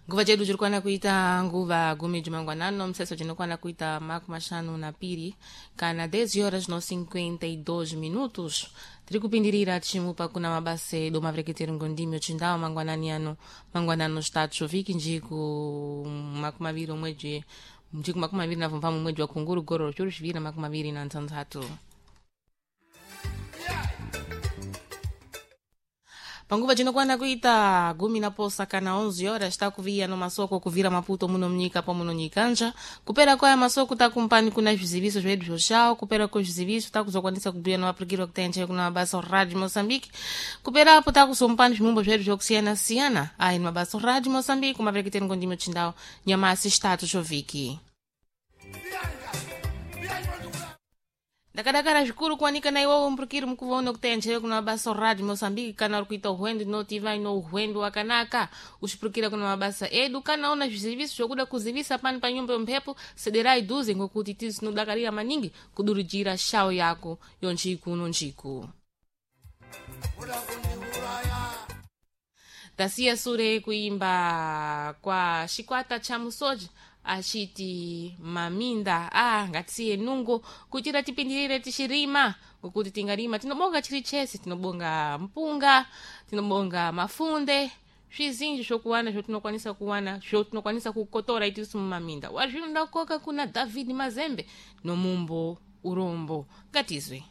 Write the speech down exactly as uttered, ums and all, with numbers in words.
Nguva chedu chirikwana kuita nguva gumi jumangwanano museso chinokwana kuita makumi mashanu na piri kana dez horas no cinquenta e dois minutos. Tiri kupindirira tichimupa kuna mabasa edu mavereketero ngondimi ochindau mangwanani ano, mangwanano chitatu vhiki, njiku makumi maviri omwedzi, njiku makumi maviri na vhumbamwe mwedzi wa Kunguru gore zviuru zviviri na makumi maviri na ntanhatu. Panguva cinokwana kuita gumi na posa kana onze horas takuviya no masoko kuvira Maputo muno munyika pamwe no nyikanja. Kupera kwaya masoko takumpani kuna zviziviso zvedu zvoxawo. Kupera kwezviziviso takuzokwanisa kubhuya no vapurikiri vakutenje kuna mabasa Radio Moçambique. Kuperapo takuzompani zvimumbo zvedu zvokusiyana-siyana. Ayi ni mabasa Radio Moçambique, mavereketeni ngondimi chindau, nyamasi chitatu chovhiki. Ndakadakara zvikuru kuwanika na iwowo mupurukiri mukuvaona kutenjere kuna mabasa Radio Moçambique. Kana uri kuita uhwendu notiva ino uhwendu wakanaka uchipurukira kuna mabasa edu. Kana una zviziviso zvokuda kuzivisa pani pa nyumba yomphepo, sederai dhuze ngokuti tisu tinodakarira maningi kudurijira shawo yako yonjiku nonjiku. Tasiya sure kuimba kwa Chikwata cha Musoja achiti maminda. Ah, ngatisiye nungo kuitira tipindirire tichirima, ngokuti tingarima tinobonga chiri chese, tinobonga mpunga, tinobonga mafunde, zvizinji zvokuwana zvotinokwanisa kuwana, zvotinokwanisa kukotora itisu mumaminda. Wazvino ndakoka kuna David Mazembe nomumbo Urombo. Ngatizwe.